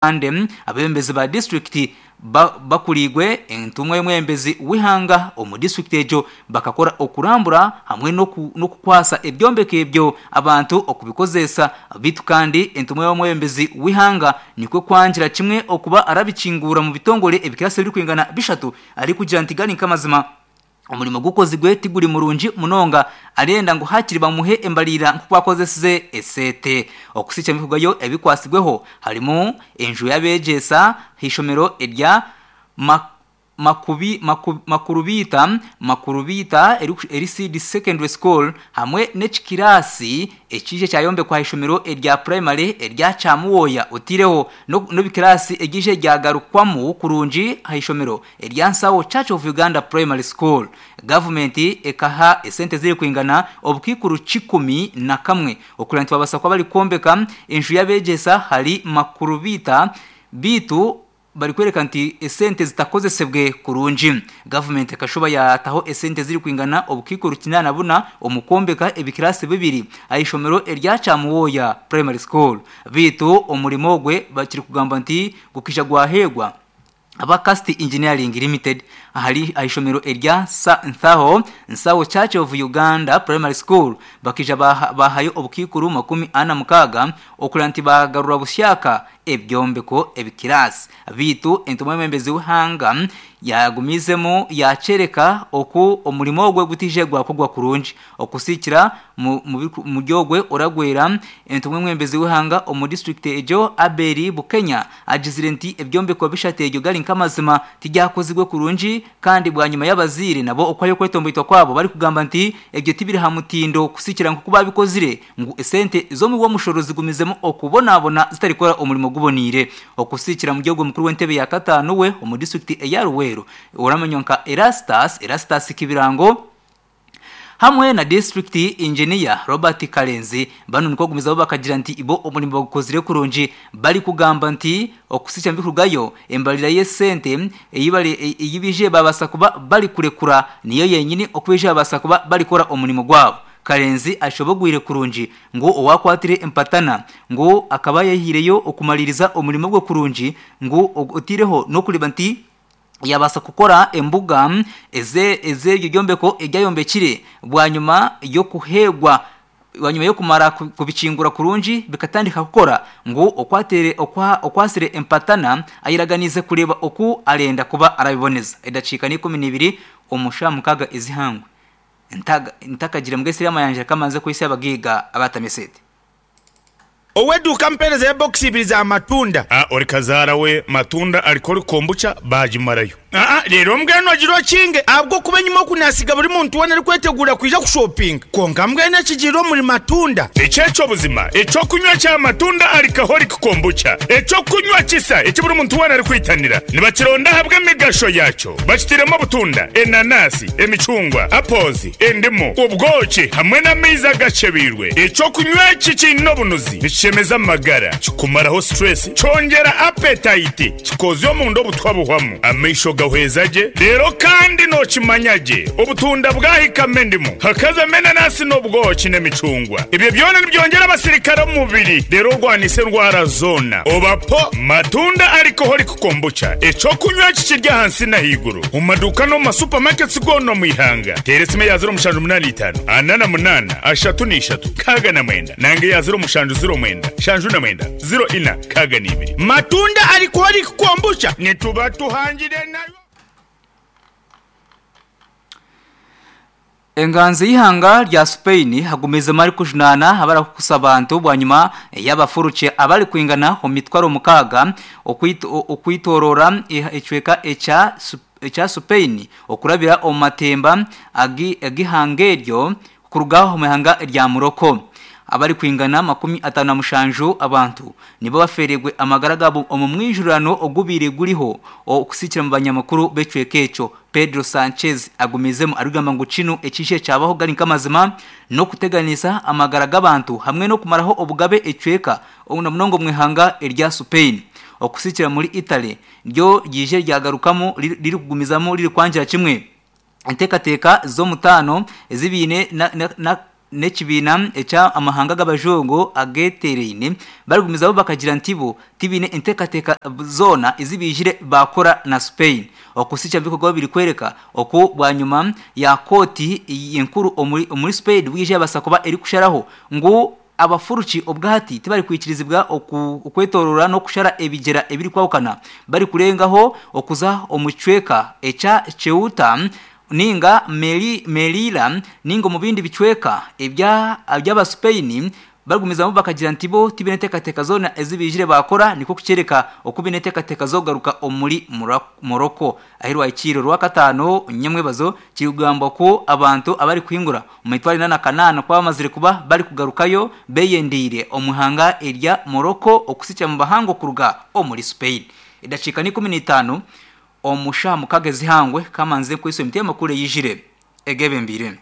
Kandi abeebembezi ba disiturikiti bakuriirwe entumwa y'omwebembezi w'eihanga omu disiturikiti egyo bakakora okurambura hamwe n'okukwasa ebyombeko ebyo abantu okubikozesa beitu kandi entumwa y'omwebembezi w'eihanga nikwo kwangira kimwe okuba arabikinguura omu bitongore ebikirasi ebirikwingana bishatu arikugira nti gari nk'amazima Omurimo gukozirwe tiguri murungi munonga, arenda ngu hakiri bamuhe embariira nk'oku akozesize eseete. Okusikya ebirikurugayo ebikwatsirweho harimu enju y'abeegyesa ah'eishomero erya Makurubiita Makurubiita eri Seed Secondary School hamwe n'ekikiraasi ekiija kyayombekwa ah'eishomero erya Purayimare erya Kyamuwooya oteireho n'ebikiraasi ebiija byagarukwamu kurungi ah'eishomero Erya Nsawo Church of Uganda Primary School, gavumenti ekaha esente zirikwingana obukaikuru 101 okureba nti babaasa kuba barikwombeka enju y'abeegyesa ahari Makurubiita beitu barikworeka nti esente zitakozesebwe kurungi. Gavumenti ekashuba yaataho esente zirikwingana obukaikuru 84 omu kwombeka ebikiraasi bibiri ah'eishomero erya Kyamuwooya Primary School beitu omurimo ogwe bakirikugamba nti gukaija gwaheegwa. Aba Cast Engineering Limited ahari ah'eishomero erya Nthaho Nsawo Church of Uganda Primary School bakaija baahayo obukaikuru 46 okureba nti baagarura bushyaka ebyombeko ebikiraasi beitu entumwa y'omwebembezi w'eihanga yaagumiizemu yaakyoreka oku omurimo ogwo gutaije gwakorwa kurungi Okusiikira omuri ogwe oragwera, entumwa y'omwebembezi w'eihanga omu disiturikiti egyo, Abel Bukenya agizire nti ebyombeko bishatu ebyo gari nk'amazima tibyakozirwe kurungi kandi bwanyima y'abazaire nabo okuhayo okwetomboitwa kwabo barikugamba nti ebyo tibiri aha mutindo kusiikira nk'oku baabikozire ngu esente z'omuwi w'omushoro zigumizemu okubonabona zitarikukora omurimo guboneire. Okusiikira omuri ogwe mukuru w'entebe ya kataano we omu disiturikiti eya Luweero oramanywa nka Erastus Erastus Kibirango, Hamwe na disiturikiti Inginiya Robert Karenzi banu nikwo kugumizaho bakagira nti bo omurimo bagukozire kurungi barikugamba nti okusikya nibikurugayo embarira y'esente ei baije babaasa kuba barikurekura niyo yenyini oku baije babaasa kuba barikukora omurimo gwabo. Karenzi ashobogwire kurungi ngu owakwatire empatana ngu akaba yaihireyo okumaririza omurimo gwe kurungi ngu oteireho n'okureeba nti yaabaasa kukora embuga ez'ebyo byombeko ebi ayombekire bwanyima y'okuheegwa bwanyima y'okumara kubikingura kurungi bikatandika kukora ngu okwatsire empatana ayeraganiize kureeba oku arenda kuba arabiboneza. Edakiika n'ikumi n'ibiri omu shaaha mukaaga ez'eihangwe ntakagiire mbwenu amayanja kamanze kwitsya abagaiga abatamya esente. Ow'eduuka ampeereza ya bokisi ibiri za matunda. A Ori kazaara we matunda alcoholic kombucha baagimarayo. Aa Reero mbwenu ogire okinge ahabw'okuba enyima oku naasiga buri muntu weena arikweteguura kwija kushopinga. Kwonka mbwenu ekigiire omuri matunda. Eki eky'obuzima, eky'okunywa kya matunda alcoholic kombucha, eky'okunywa kisa eki buri muntu weena arikwitanira. Nibakironda ahabw'emigasho yaakyo. Bakitiremu obutunda, enanasi, emicungwa, apples, endimu, obwoki hamwe n'amaizi agakyebeirwe. Eky'okunywa eki kiine obunuzi, nikishemeza amagara, kikumaraho stress, kyongyera appetite, kikozya omunda obutwa buhwamu, amaisho gahweza gye, reero kandi nokimanya gye obutunda bwahikamu endimu, hakazamu enanasi n'obwoki n'emicungwa. Ebyo byona nibyongyera abasirikare omu mubiri reero orwanise endwara zoona. Oba po matunda alcoholic Kombucha, eky'okunywa eki kiri ahansi n'ahaiguru omu maduuka n'omu ma supermarkets goona omu ihanga. Teera esimu eya 0785 48 33 69 nanga eya 0709 79 04 62. Matunda Alcoholic Kombucha Nituba tuhangire nayo. Enganzi y'eihanga rya Spain agumizemu arikujunaana abarikukusa abantu bwanyima y'abafuruki abarikwingana omu mitwaro mukaaga okwitoorora ekicweka ekya Spain okurabira omu matemba ag'eihanga eryo kuruga omu ihanga rya Morocco. Abarikwingana 57 abantu nibo bafeereirwe amagara gaabo omu mwijurano ogubaire guriho okusikira omu banyamakuru b'ekicweka ekyo. Pedro Sanchez agumizemu arikugamba ngu kinu ekiije kyabaho gari nk'amazima n'okuteganisa amagara g'abantu hamwe n'okumaraho obugabe ekicweka na munonga omu ihanga erya Spain. Okusikira muri Italy ryo ryije ryagarukamu ririkugumizamu ririkwangira kimwe enteekateeka z'omutaano ezi baine na. n'ekibiina ekya amahanga g'abajungu agetereine barigumizaho bakagira nti bo tibiine enteekateeka zoona ezi baijire baakora na Spain. Okusikya bikorwa biri kwereka oku bwanyima ya kooti enkuru omuri Spain bwija yabaasa kuba erikusharaho ngu abafuruki obwahati tibarikwikirizibwa okwetorora n'okushara ebigyera ebirikwahukana barikurengaho okuza omu kicweka ekya Ceuta ninga Melilla ninga omu bindi bicweka eby'Abaspain barigumizamu bakagira nti bo tibaine enteekateeka zoona ezi baijire baakora nikwo kukyereka oku baine enteekateeka z'okugaruka omuri Morocco. Ahi rwahikiire Orwakataano nyamwebazo kirikugambwa ku abantu abarikuhingura omu mitwaro ena na kanaana ku bamazire kuba barikugarukayo beyendeire omu ihanga erya Morocco okusikya omu bahango kuruga omuri Spain. Edakiika n'ikumu n'itaano omu shaaha mukaaga ez'eihangwe kamanze nkwitswe emiti y'amakuru eyijire egebembeire.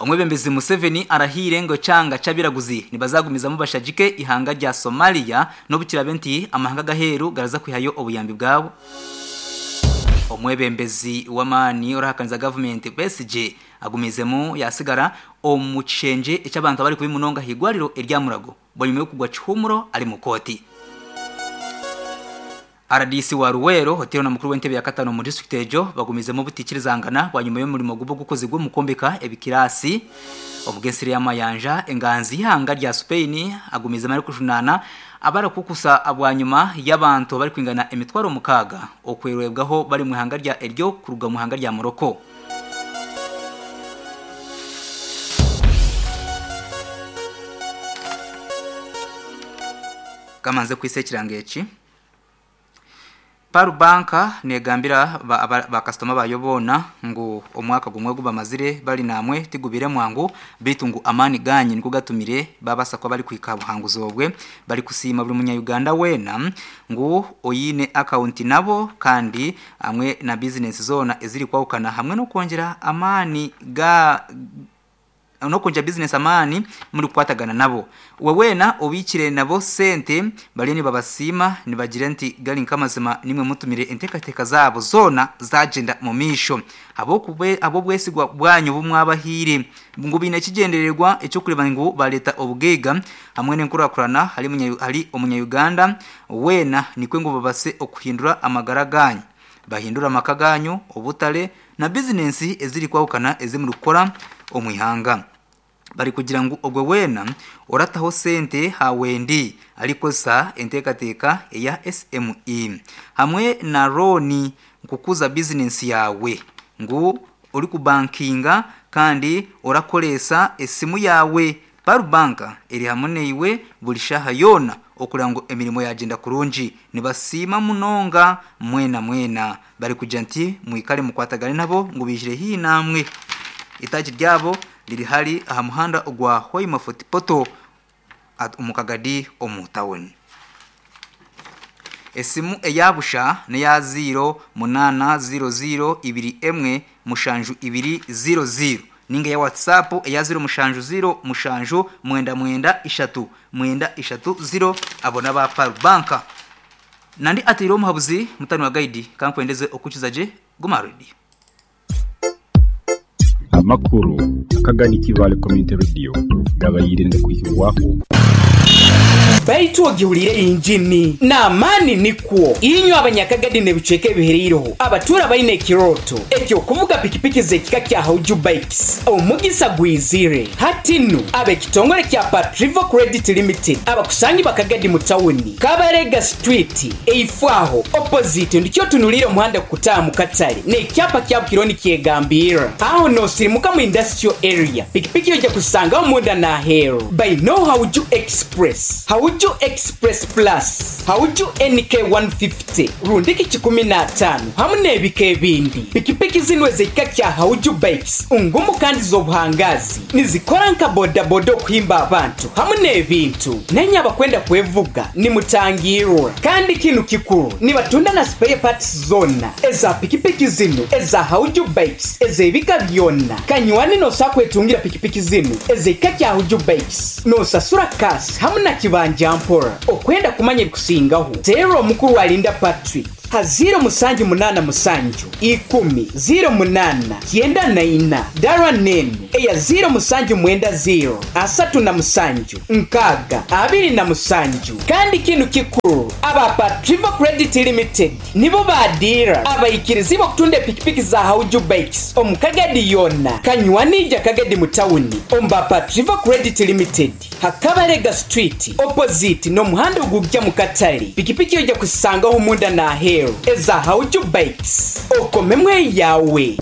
Omwebembezi Museveni arahiire ngu ekyanga ky'abiraguzi nibazagumizamu bashagike eihanga rya Somalia n'obu kiraabe nti amahanga ag'aheeru garaza kwihayo obuyambi bwabo. Omwebembezi w'amaani orahakaniza gavumenti Besigye agumiizemu yasigara omu kishengye eky'abantu abari kubi munonga ah'eirwariro erya Mulago bwanyima y'okugwa kihuumuro ari mu kooti. Rdc wa Luweero oteirwe na mukuru w'entebe ya katano omu disiturikiti egyo bagumizemu obutaikirizangana bwanyima y'omurimo gubi ogukozirwe omu kwombeka ebikiraasi omu g'ensiri y'amayanja. Enganzi y'eihanga rya Spain agumizemu arikujunaana abarikukusa bwanyima y'abantu abarikwingana emitwaro mukaaga okwerwebwaho bari omu ihanga rya eryo kuruga omu ihanga rya Morocco. Kamanze kwisa ekirango eki. Pearl Bank negambira ba kasitoma baayo boona ngu omwaka gumwe ogu bamazire bari namwe tigubaire mwangu beitu ngu amaani gaanyu nigo gatumire babaasa kuba barikuhika aha buhanguzi obwe. Barikusiima buri munya Uganda weena ngu oine akawunti nabo kandi hamwe na bizinesi zoona ezirikwahukana hamwe n'okwongyera amaani ga n'okwongyera bizinesi amaani murikukwatagana nabo. Iwe weena obiikire nabo sente bariyo nibabasiima nibagira nti gari nk'amazima nimwe mutumire enteekateeka zaabo zoona zaagyenda mu maisho ahabw'obwesigwa bwanyu obu mwabahaire. Ngu baine ekigyendererwa eky'okureeba ngu baareeta obugaiga hamwe n'enkurakurana ahari omunya-Uganda weena nikwo ngu babaase okuhindura amagara gaanyu, bahindure amaka gaanyu, obutare na bizinensi ezirikwahukana ezi murikukora omu ihanga. Barikugira ngu ogwe weena orataho sente ha wendi arikukozesa enteekateeka eya SME hamwe na looni kukuza bizinensi yaawe ngu orikubankinga kandi orakoreesa esimu yaawe. Pearl Bank eri hamwe naiwe buri shaaha yoona okureba ngu emirimo yaagyenda kurungi. Nibasiima munonga mwena mwena barikugira nti mwikare mukwatagane nabo ngu baijire haihi namwe. Eitaagi ryabo riri hari aha muhanda ogwa Hoima Fort Portal omu Kagadi omu tawuni. Esimu eya busha n'eya ziiro munaana ziiro ziiro ibiri emwe mushanju ibiri ziiro ziiro ninga eya WhatsApp eya ziiro mushanju ziiro mushanju mwenda mwenda ishatu mwenda ishatu ziiro abo n'aba Pearl Bank. Nandi ateire omuhabuzi mutani wa Gaidi kankwendeze okukiza gye guma aha radio. Amakuru akagani Kibaale Community Radio gabaire nigakwihibwaho. Baitu ogihuriire engini n'amaani nikwo. Inywe Abanyakagadi n'ebicweka ebihereireho abatuura baine ekirooto eky'okuvuga pikipiki z'ekika kya Hauju Bikes, omugisa gwizire. Hati nu, ab'ekitongore kya Patrivo Credit Limited abakusangibwa Kagadi mu tawuni, Kabarega Street, eifo aho, opposite, ndikyo otunuliire omuhanda kukutaaha mu katare n'ekyapa kya Bukiro nikyegambirra. Aho noosirimuka mu Industrial Area, pikipiki oija kuzisangaho munda n'aheeru. Baineo Hauju Express, Hauju Express Plus, Hauju NK 150, rundiki kikumi n'ataano hamu n'ebika ebindi. Pikipiki zinu ez'ekika kya Hauju Bikes ngumu kandi z'obuhangaazi. Nizikora nka bodaboda okuhimba abantu hamu n'ebintu. Nainye abakwenda kwevuga nimutangiirwa. Kandi kinu kikuru, nibatunda na spare parts zoona eza pikipiki zinu eza Hauju Bikes ez'ebika byona. Kanywani nosobola kwetungira pikipiki zinu ez'ekika kya Hauju Bikes nosasura cash hamu na kibanja mpora. Okwenda kumanya ebikusingaho, teerra omukuru Alinda Patrick. Ha 0787 10 08 94, dara n'enu eya 0790 37 60 27. Kandi kinu kikuru, aba Patriva Credit Limited nibo ba diira abaikirizibwa okutunda epikipiki za Hauju Bikes omu Kagadi yoona. Kanywanija Kagadi mu tawuni omu ba Patriva Credit Limited ha Kabalega Street opposite n'omuhanda ogugya mu katale. Pikipiki oija kuzisangaho munda n'aheeru eza Hauju Bikes. Okomemu eyawe.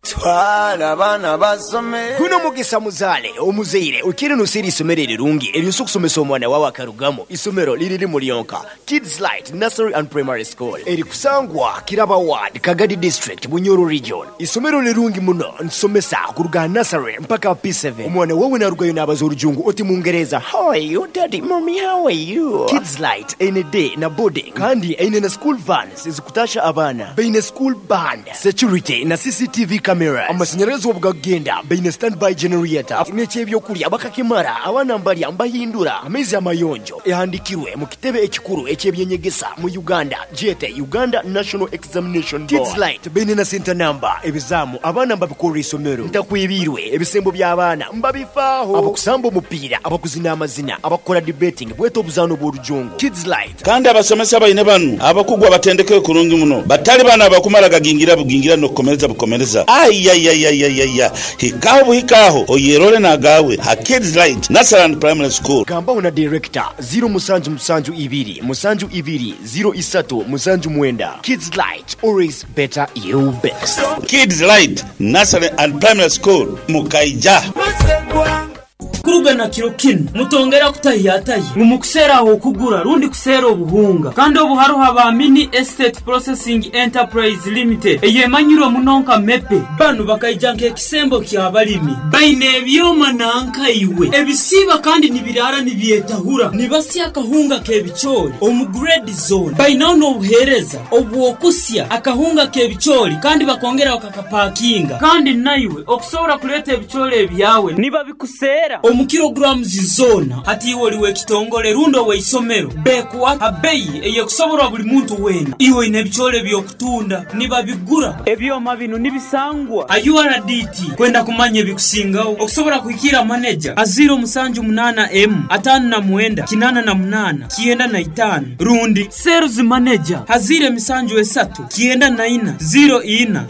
Twala abaana basome. Guno mugisa muzaale omuzaire okiire noseera eisomero erirungi eryosa okusomesa omwana wawe akarugamu. Isomero liri limu lyonka, Kids Light Nursery and Primary School erikusangwa Kiraba Ward, Kagadi District, Bunyoro Region. Isomero lirungi muno nitusomesa kuruga aha nursery mpaka aha P7. Omwana wawe narugayo nabaza orujungu oti mungereza How are you daddy, mummy how are you? Kids Light eine day na boarding kandi eine na school vans ezikutasha abaana. Baine school band, security na CCTV cameras. Amasanyarazi obu gakugenda baine standby generator n'eky'ebyokurya bakakimara abaana mbarya mbahindura amaizi amayonjo. Ehandikirwe mu kitebe ekikuru eky'eby'enyegesa mu Uganda gyete Uganda National Examination Board. Kids Light baine na center number, ebizaamu abaana mbabikorera eisomero. Ntakwebiirwe ebisembo by'abaana mbabifaaho. Abakusamba omupiira, abakuzina amazina, abakukora debating bwete obuzaano bw'orujungu. Kids Light. Kandi abasomesa baine banu abakugu abatendekere kurungi muno, batali banu abakumala gagingira bugingira n'okukomereza bukomereza. Ayayayayaya! Hikaho buhika agho oyerole n'agaawe ha Kids Light Nursery and Primary School. Gambaho na Director, ziro musanju musanju ibiri musanju ibiri ziro isatu musanju mwenda. Kids Light, always better you best. Kids Light Nursery and Primary School, Mukaija. Kuruga na kiro kinu, mutongera kutahiyatahya ngu mukuseera ah'okugura rundi kuseera obuhunga. Kandi obu haroho aba Mini Estate Processing Enterprise Limited eyemanyirwe muno nka MEPE. Banu bakaija nk'ekisembo ky'abalimi. Baine ebyoma nanka iwe ebisiiba kandi nibiraara nibyetahura. Nibasya akahunga k'ebicoori omu grade zoona. Bainaho n'obuheereza obw'okusya akahunga k'ebicoori kandi bakongera bakakapakinga. Kandi naiwe okusobora kureeta ebicoori ebyawe nibabikuseera omu kilograms zoona. Hati iwe ori w'ekitongore rundi ow'eisomero, beekuha ha beyi ey'ekusoborwa buri muntu weena. Iwe oine ebicoori eby'okutunda, nibabigura. Ebyoma binu nibisangwa ha URDT. Kwenda kumanya ebikusingaho, okusobora kuhikiira maneja ha ziiro musanju munaana emu, ataano na mwenda, kinaana na munaana, 95 rundi Sales Manager ha ziiro emisanju esatu, 94, 04, 10.